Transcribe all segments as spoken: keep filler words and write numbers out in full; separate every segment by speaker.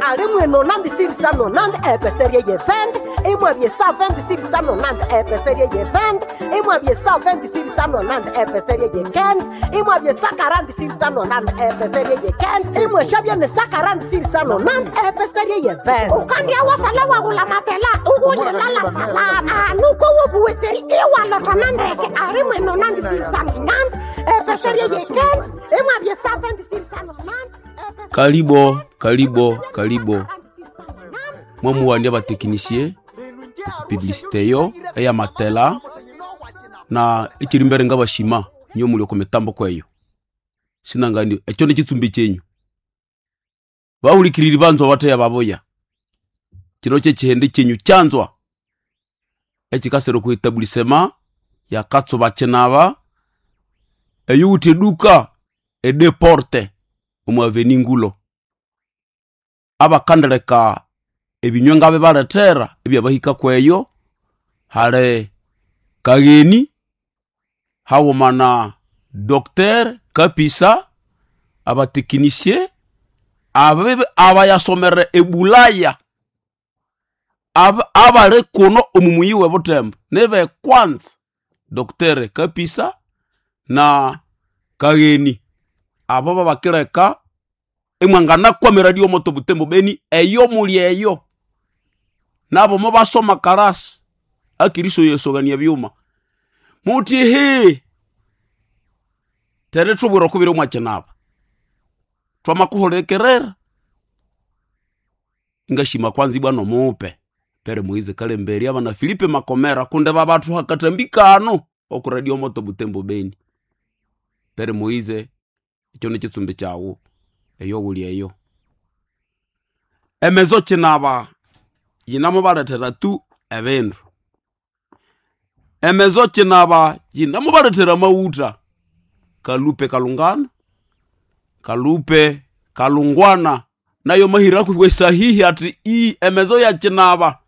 Speaker 1: Alimwe nonante sirisa nonante epeserie ye venti imwabye sa venti sirisa nonante epeserie ye venti imwabye sa venti sirisa nonante epeserie ye kenzi imwabye sa quarante sirisa nonante epeserie ye kenzi imweshabye ne sa quarante sirisa nonante epeserie ye venti ukandia wasala wagula matela ukulyelala salama anuko wobuwetseri iwalotana ndeke alimwe nonante sirisa nonante epeserie ye kenzi imwabye sa venti sirisa nonante
Speaker 2: Karibo, karibo, karibo. Mwamuwandia batekinisie publicité yo eya matela na ekiri mbere ngabashima nyo muli oko mitambo kweyo sinangani ekyo nikitsumbi kyenyu bahulikiriri banzwa bateya baboya kino kyekihende kyenyu kyanzwa ekikasira oku etablissement yakatsuba kinaba eyuwithe eduka edeporte omu aveni ngulo abakandeleka ebinywa ngabibalethera ebyabahika kweyo hali kagheni haghuma na Docteur Kapisa abatekinisie abayasomere ebulaya abali kuno omu muyi w'ebutembo nibe kwanza Docteur Kapisa na Kagheni abo babakileka imwanganakwamira radio moto Butembo Beni eyo muli eyo nabo mubasoma karasi akiriso yesogania byuma muti hi tere thubwira okubiri omwakinaba twamakuhulekerera ingashima kwanza ibwa nomupe pere Moize Kalemberi abana Filipe Makomera kunde babathu hakatambi kano oku radio moto Butembo Beni pere Moize ekyo nikitsumbi kyawu eyo wuli eyo emezo kinaba yinamubalethera tu ebindu emezo kinaba yinamubalethera amawutha kalupe kalungana kalupe kalungwana nayo mahira kwe sahihi ati i emezo ya kinaba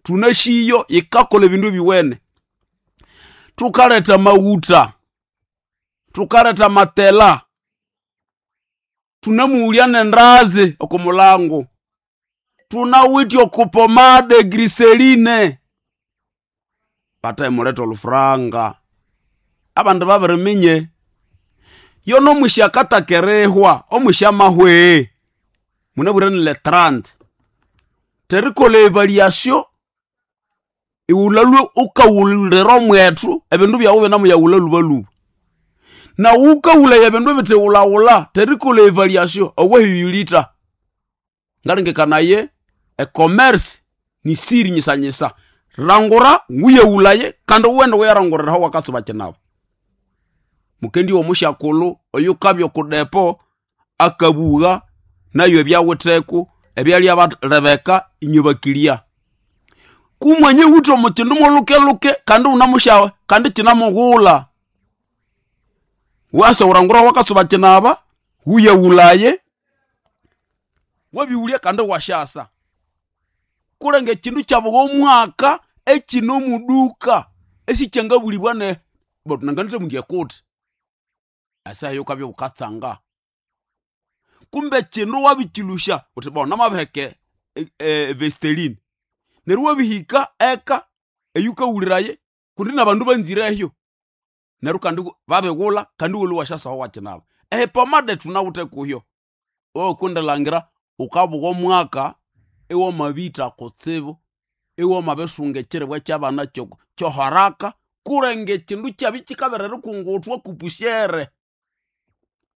Speaker 2: tunashiyo ikakola ebindu ebiwene tukaleta mawutha tukaleta matela tunamuulya nendazi oko mulango tunawithe okupomade griseline bataimuleta olufuranga abandu babiriminye yono omwisya akatakerehwa omwisya amahwe munabwire ni le trente terikolha evaluation iwulalwe ukawulira omwethu ebindu byawu binamuyawula lubaluba nawu ukawulaya ebindu ebithiwulawula terikolha evaluation owahiyulitha ngalengekanaye ecommerce ni siri nyisanyisa rangura wuyewulaye kandi wuwende wuyaranguriraho wakatsuba kinaba mukendi womusyakulhu oyukabya okudepo akabugha nayo ebyawitheko ebyalya balebeka inywe bakilya kumwanya iwithe omukindu molukeluke kandi wunamusyawe kandi kinamughulha wasa wurangura wakatsuba kinaba wuyewulaye wabiwulya kandi wasyasa kulenga ekindu kyabugha omwaka ekine omuduka esikyangabulibwa ne nanganithe mundu ekuthi esaha eyo wukabya wukatsanga kumbe kino wabikilusya wuthi bo namabiheka evesteline neryo wabihika eka eyukawuliraye kundi nabandu banzireyo neryo kandi babighulha kandi iwalhwa iwasyasaho wakinaba epomade thunawithe kuyo okundilangira wukabugha omwaka iwamabitha kutsibu iwamabisunga ekyiribwa kyabana kyoharaka kulenga ekindu kyabya kyikabera erikunguthwa kupushere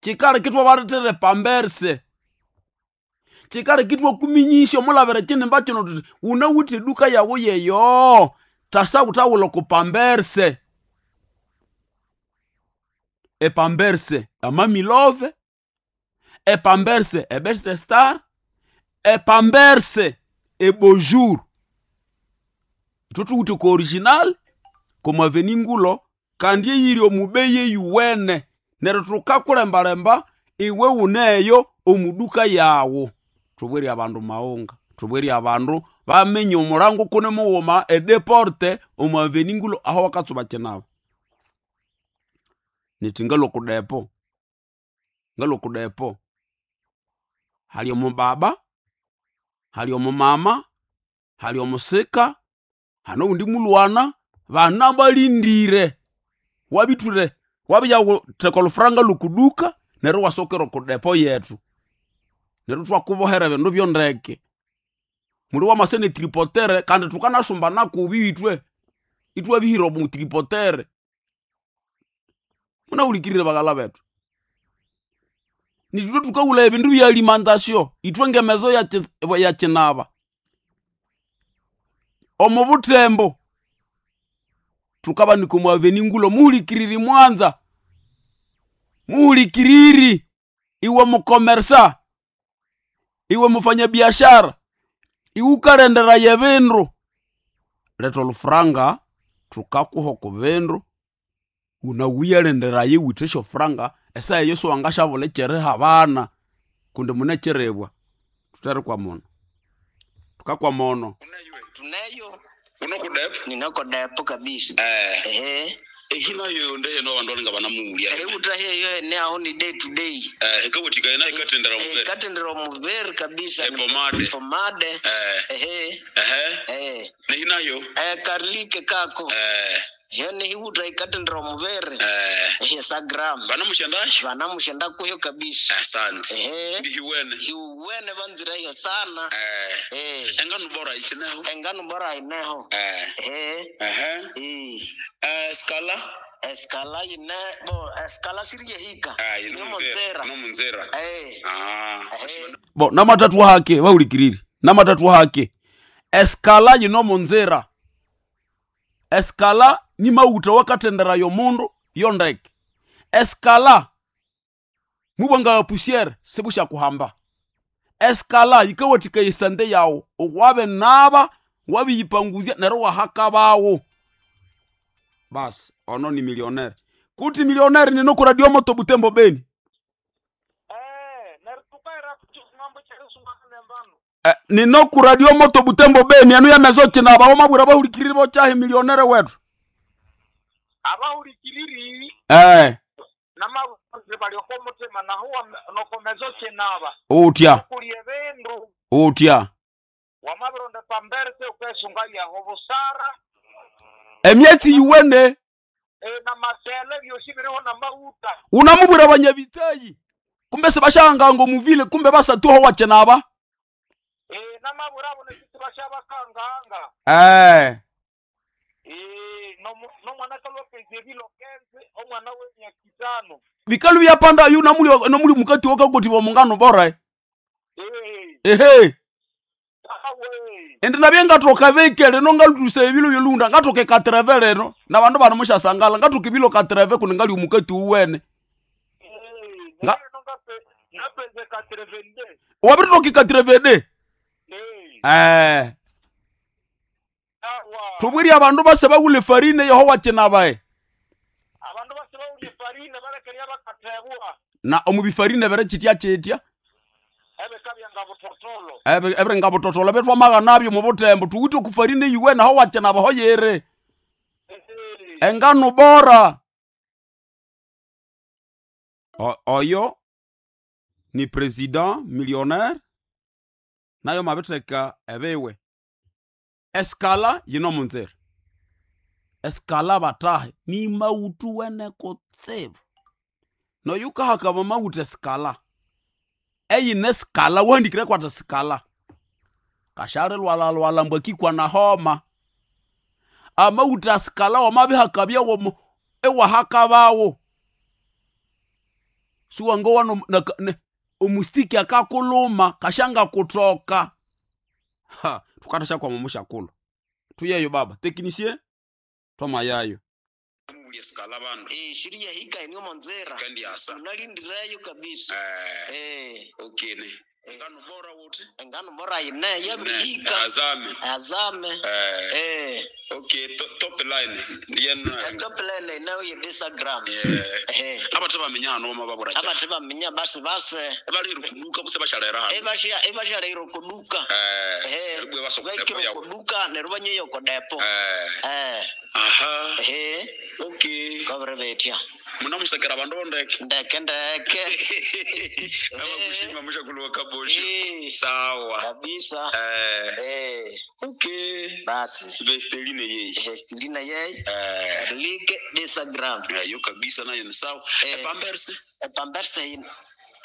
Speaker 2: kyikaleka ithwabalethera epamberse kyikaleka ithwakuminyisya omulabira ekyinimba kino thuthi wunawithe eduka yawu yeyo thasa wuthawulha oku pamberse epamberse amamilove epamberse ebest star epamberse ebonjour ithwe thuwithe ku original komwaveni ngulo kandi eyiri omubeyi eyuwene neryo thukakulembalemba iwe wuneyo omuduka yawu thubwire abandu maghunga thubwire abandu bamenye omulango kune mughuma edeporte omu aveni ngulo aho bakatsuba kinaba nithi ngalhwa oku depo ngalhwa oku depo hali omubaba Hali omumama, hali omusika, hano undi mulwana, bana balindire. Wabithure, wabiyatheka olufuranga lw'okuduka, neryo wasokera oku depo yetu. Neryo thwakubohera ebindu byondeke. Muli wamase ne tripotere kandi thukanasumbana kubi ithwe. Ithwabihira omu tripotere. Munahulikirire baghala bethu. Nithwe thukawula ebindu bya alimentation, ithwe ngemezo ya ki- ya kinaba. Omu butembo thukabanika omu aveni ngulo muhulikiriri mwanza. Muhulikiriri iwe mukomersa, iwe mufanyabiashara, iwe ukalenderaya ebindu. Letha olufuranga thukakuha oku bindu unawuyalenderaya iwithe esyofuranga esaha eyo siwangasyabulha ekyeriha abana kundi munekyirebwa. Thutherikwama ono. Thukakwama ono.
Speaker 3: Tuneyo
Speaker 4: unokudepo
Speaker 3: ninako depo kabisa.
Speaker 4: eh
Speaker 3: Ehe.
Speaker 4: ehinayo ndeheno abandu balinga banamuwulya
Speaker 3: Ehuta hiyo ene aho ni day to day.
Speaker 4: eh ikawathikaya nayo ikathendera
Speaker 3: Eh,
Speaker 4: muvere
Speaker 3: Katendera muvere kabisa.
Speaker 4: Eh, pomade.
Speaker 3: Pomade.
Speaker 4: eh
Speaker 3: Ehe.
Speaker 4: ehe
Speaker 3: Eh.
Speaker 4: nehinayo
Speaker 3: Eh karlike kako.
Speaker 4: eh
Speaker 3: Hiyo ni hiuta ikatendera muvere.
Speaker 4: eh
Speaker 3: Ehe sagram.
Speaker 4: banamushendasho
Speaker 3: Vanamushenda kuyo kabisa.
Speaker 4: asante
Speaker 3: Ehe.
Speaker 4: ndihiwene
Speaker 3: Hiuwene vanzira hiyo sana.
Speaker 4: eh
Speaker 3: Eh.
Speaker 4: engano bora ichineho
Speaker 3: Engano bora ineho.
Speaker 4: eh
Speaker 3: Ehe.
Speaker 4: ehe
Speaker 3: Eh.
Speaker 4: eh skala
Speaker 3: Eskala ine bo eskala shirye hika.
Speaker 4: eh
Speaker 3: Ni
Speaker 4: inomunzera
Speaker 3: munzera.
Speaker 4: inomunzera
Speaker 3: Eh.
Speaker 4: ah
Speaker 3: Ehe.
Speaker 2: Bo namathathu hake bahulikiriri. Namathathu hake. Eskala yino munzira. Eskala ni mauta wakathendera yomundu yondeke. Eskala mubwanga pusiere sibushakuhamba. Eskala yikawathika esande yawu wabe naba wabiyipanguzya neryo wahakabawo. Basi ono ni millionaire. Kuti millionaire nino ku radio moto Butembo Beni.
Speaker 5: Eh, neryo tukaira ng'ambo kyerisunga nembano
Speaker 2: Eh, nino ku radio moto Butembo Beni anu yamezo kinaba omabwira bahulikiriri bokyahi millionaire wetu.
Speaker 5: abahulikiriri
Speaker 2: Eh,
Speaker 5: namabuzi balioko mutima nahuwa nokomezo kinaba
Speaker 2: utya,
Speaker 5: kuli ebindu
Speaker 2: utya.
Speaker 5: wamabironda pamberse ukesunga yaho busara
Speaker 2: Emyetsi yuwene
Speaker 5: eh, namatele byosi biriho namauta
Speaker 2: unamubwira banyabitayi kumbe sibashanganga omuvile kumbe basatuho wakinaba.
Speaker 5: eh, namabwira abo nekiti bashabakanganga
Speaker 2: Eh,
Speaker 5: eh, nomu- nomwana kalwapeza ebilo kenzi omwana w'emyaka itano
Speaker 2: bikalu byapanda yu namuli namuli mukati wakagoti wa mungano bora.
Speaker 5: eh,
Speaker 2: Ehe.
Speaker 5: awe
Speaker 2: Ende nabye ngatoka beke leno ngalutusa ebilo byolunda ngatoka ekatreve leno na bandu bano mushasangala ngatoka ebilo katreve kundi ngali omukati uwene.
Speaker 5: eh,
Speaker 2: Nga-
Speaker 5: neryo ngape- ngapeza katrevende
Speaker 2: Wabiritoka ekatreve de.
Speaker 5: eh,
Speaker 2: Eh.
Speaker 5: awa
Speaker 2: Tubwiri abandu base bagule farine yoho wakinabae.
Speaker 5: abandu bose bawulya efarine balekerya bakathebwa
Speaker 2: Na omubifarine bere kitya kitya.
Speaker 5: ebikabyanga butotolo
Speaker 2: Ebe ebere ngabutotola betwamaga nabyo mu butembo tuwite okufarine yiwe naho wakinaba ho yere. Engano bora. O, oyo ni president millionaire nayo mabitheka ebiwe. Eskala yino munzira. Eskala batahe ni mautu wene kutsibu. Noyukahaka mauta eskala. Eyine skala wahandikire kwata skala. Kashari lwala lwala mbwakikwa na homa. Amauta skala wamabihakabya womo ewahakabawo. Siwango wano na, ne, omustiki akakuluma kashanga kutoka. Ha, tukatasha kwa mamusha kulo. Tuyeyo baba, technicien twamayayo.
Speaker 4: muwulya skala bandu
Speaker 3: Eh shirye hika ni munzera.
Speaker 4: kandi asa
Speaker 3: Unalindireyo kabisa.
Speaker 4: eh
Speaker 3: Eh.
Speaker 4: okay ne engano bora wote
Speaker 3: Engano bora ine yabirihika.
Speaker 4: azame
Speaker 3: Azame.
Speaker 4: eh
Speaker 3: Eh.
Speaker 4: okay to, top line ndiyena
Speaker 3: Top line inayo ye Instagram.
Speaker 4: eh
Speaker 3: Eh.
Speaker 4: abathe bamenya hano mababura cha
Speaker 3: Abathe baminya basi base.
Speaker 4: balihira kuduka kuse bashalera hano
Speaker 3: Ebasha ebashalero kuduka.
Speaker 4: eh
Speaker 3: Eh.
Speaker 4: bwe basokolepo
Speaker 3: Baikiro
Speaker 4: yawo
Speaker 3: kuduka neryo banyeyo kodepo.
Speaker 4: eh
Speaker 3: Eh.
Speaker 4: aha
Speaker 3: Eh.
Speaker 4: okay
Speaker 3: Kobere betya.
Speaker 4: Munamusekera abandu bondeke.
Speaker 3: Ndeke ndeke.
Speaker 4: Namakushima mushakulu wa Kabosho.
Speaker 3: Eh,
Speaker 4: Sawa.
Speaker 3: kabisa.
Speaker 4: Eh,
Speaker 3: Eh,
Speaker 4: okay.
Speaker 3: basi.
Speaker 4: Vestelina yeyi.
Speaker 3: Vestilina yeye.
Speaker 4: Eh,
Speaker 3: Like Instagram.
Speaker 4: yo kabisa nayo ni sawa.
Speaker 3: Eh.
Speaker 4: Epamberse.
Speaker 3: Epamberse yine.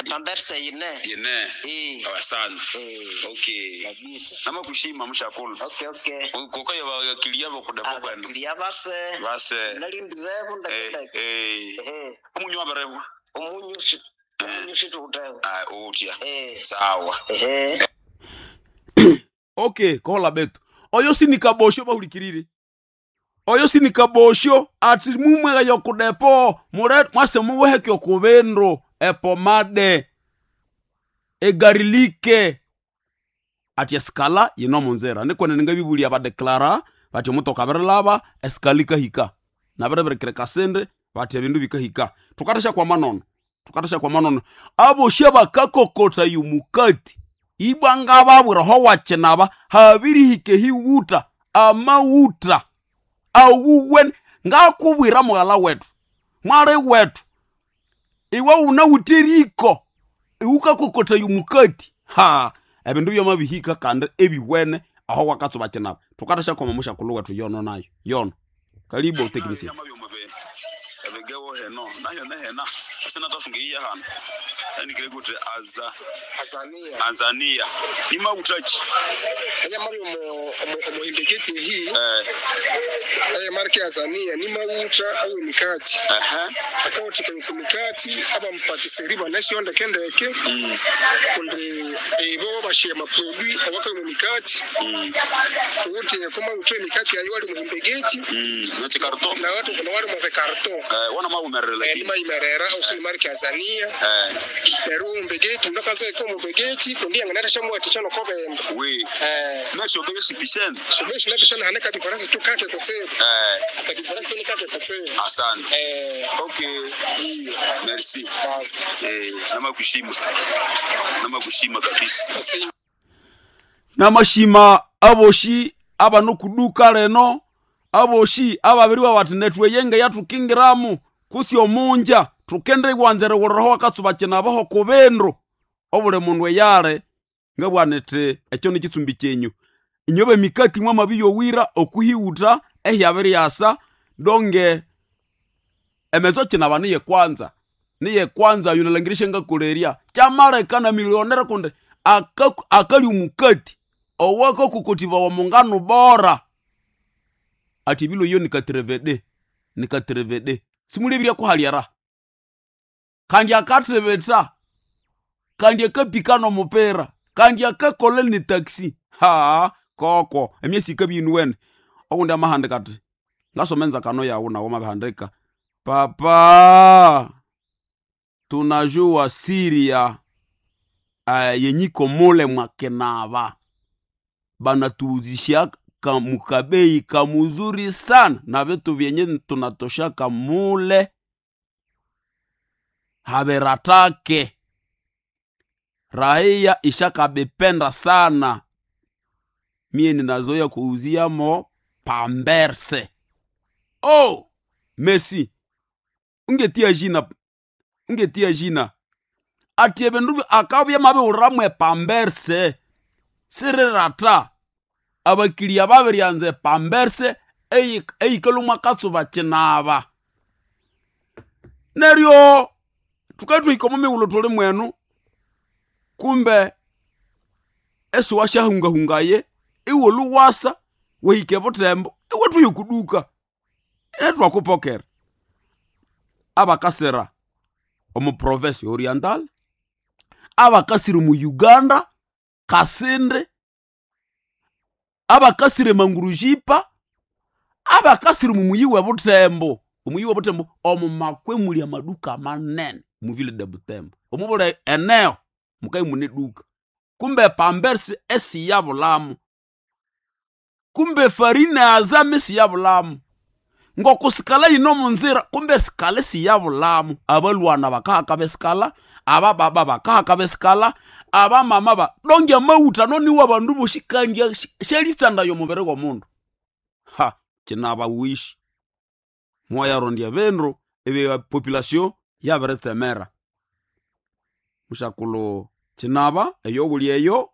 Speaker 3: Epamberse yine.
Speaker 4: Yene.
Speaker 3: Eh.
Speaker 4: Asante.
Speaker 3: Eh,
Speaker 4: Okay.
Speaker 3: kabisa.
Speaker 4: Namakushima mushakulu.
Speaker 3: Okay, okay.
Speaker 4: Kukayo bakilia bokudepo kwenu.
Speaker 3: Abakilia base.
Speaker 4: Base.
Speaker 3: Nalindirevo ndeke
Speaker 4: Eh,
Speaker 3: ndeke.
Speaker 4: eh.
Speaker 3: Eh,
Speaker 4: Omunyu wabereho.
Speaker 3: omunyu si omunyu situutewo.
Speaker 4: Ah, utya.
Speaker 3: Eh.
Speaker 4: Sawa.
Speaker 3: Ehe.
Speaker 2: Okay, kola betu oyo sinikabosho bahulikirire oyo sinikabosho ati mumwega yokudepo mure mwase muweheke okubindu epomade egarilike ati esikala yino munzira nikwene ningabibulia badeklara bati omutoka abirilaba esikala ikahika nabirebirikire kasindi bati ebindu bikahika tukatasha kwa manono tukatasha kwa manono aboshi abakakokota yumukati ibwa ngababwira ho wakinaba habirihika ehiwuta amawuta awuwen ngakubwira mughala wetu mwali wetu iwe unawuthe riko iwukakokota yumukati ha ebindu byamabihika kandi ebiwene aho wakatsuba kinaba tukatasha koma mushakulhu wetu yono nayo yono kalibo technician
Speaker 4: ebigewo heno nayo nehena asinatafunga iya hano anikire kuti aza
Speaker 6: Azania
Speaker 4: Azania ni mautachi
Speaker 6: aya mari omu omuhimbeketi ehi
Speaker 4: eh
Speaker 6: aya marike Azania ni mauta au emikati
Speaker 4: aha
Speaker 6: akaotika ku mikati aba mupatiseri banasyo ndeke ndeke
Speaker 4: mm
Speaker 6: kundi ebo bashiya maprodui awaka mu mikati
Speaker 4: mm
Speaker 6: tuwuti kuma utoe mikati ayo wali muhimbegeti
Speaker 4: mm nachikarto
Speaker 6: na watu kuna wali mu karton
Speaker 4: eh wana mabumerere
Speaker 6: eh,
Speaker 4: lakini
Speaker 6: ni maimerera au si marike Azania
Speaker 4: eh
Speaker 6: neru mumbegeti ndakaza iko mumbegeti kundi yanganata shamu atichano kobenda
Speaker 4: we
Speaker 6: eh
Speaker 4: nasho beshi pishen
Speaker 6: shobeshi lapishana haneka diferensi tu kake kusema
Speaker 4: eh
Speaker 6: ka diferensi tu ni kake kusema
Speaker 4: asante
Speaker 6: eh
Speaker 4: okay
Speaker 6: hiyo
Speaker 4: merci
Speaker 6: basi
Speaker 4: eh namakushima namakushima kabisa
Speaker 6: basi
Speaker 2: namashima aboshi abanokuduka leno aboshi ababiriwa bati netweyenge yatukingiramu kusi omunja tukende iwanzere wuliraho wakatsuba kinabaho kubindu obuli mundu eyale ngabwanete ekyo nikitsumbi kyenyu inyobe emikati mwamabiyowira okuhiwuta ehyabiriyasa donge emezo kinaba niye kwanza niye kwanza yunalangirishe ngakolerya kyamaleka na milionere kundi aka- akali omukati owakakukotibawa mungano bora ati bilo iyo nikatrevede nikatrevede simulebirya kuhalyara kandi akatreveta kandi akapika nomupira kandi akakola ni taxi ha koko emyesi ikabinuwene okundi amahandika ati ngasoma enzakano yawu nawo mabihandika papa tunajua siri ya uh, yenyiko mule mwakenava banatuuzisha mukabei kamuzuri sana na vitu vyenye tunatoshaka mule haveratake raia ishakabipenda sana mie ninazoya kuuziamo pamberse oh merci ungetia jina ungetia jina ati ebindu akabya mabiwuramwe pamberse sirirata abakilia babiryanza epamberse eikalumwa katsuba kinaba neryo tukatwika omu mighulhu tuli mwenu kumbe esiwa syahungahungaye iwe luwasa wahika ebutembo iwe tuye kuduka netwakupokera abakasira omu province oriental abakasire mu uganda kasindi abakasire mangurujipa abakasire mu muyi we butembo omuyi we butembo omu makwe muli amaduka manene mu ville de butembo omubula eneo mukai mune duka kumbe pambersi esiyabulamu kumbe farina azame siyabulamu ngokusikala yino munzira kumbe sikala siyabulamu abalwana bakahaka besikala abababa bakahaka besikala abamama ba donge amawuta noniwa bandu boshi kandi shelitsanda yomubiri gwomundu ha kinaba wishi mwayarondya bindu ebe population yabiritsemera. Mushakulu kinaba eyobuli eyo.